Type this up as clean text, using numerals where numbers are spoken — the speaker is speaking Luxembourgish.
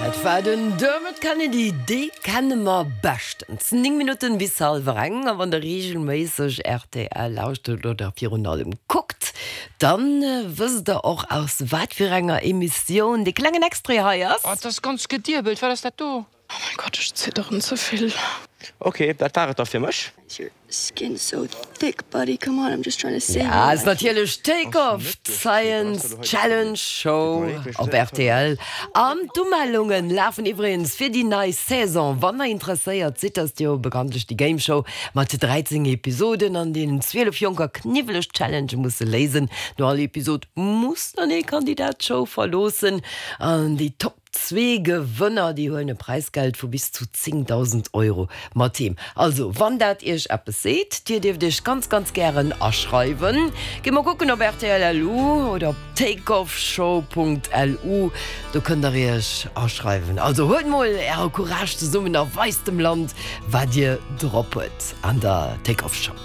Dat war den Dermot Kennedy, dee kenne mer beschtens. 9 Minutten bis hallwer eng. A wann der reegelméisseg rtl lauschtert oder virun allem kuckt, dann wësst der och aus wat fir enger Emissioun dee klengen Extrait hei ass. Oh, et ass ganz gediebelt, wat ass dat do? Oh mein Gott, ech zidderen ze vill. Ok, dat war et da fir mech. Ja, ass natierlech Take Off, d'Science Challenge Show op rtl. An d'Umellungen lafen iwwregens fir déi nei Saison. Wann der interesséiert sidd, ass jo bekanntlech déi Game Show mat 13 Episoden, an deenen 12 Jonker kniwweleg Challengë musse léisen. No all Episod muss dann ee Kandidat d'Show verloossen an déi Top Zwee Gewënner, déi huelen e Präisgeld vu bis zu 10.000 Euro mat heem. Also, wann dat iech eppes seet, dir dierft iech ganz, ganz gären aschreiwen. Gitt mol kucken op rtl.lu oder op takeoffshow.lu, do kënnt der iech aschreiwen. Also huelt mol äre Courage zesummen a weist dem Land, wat dir drop huet an der Takeoff Show.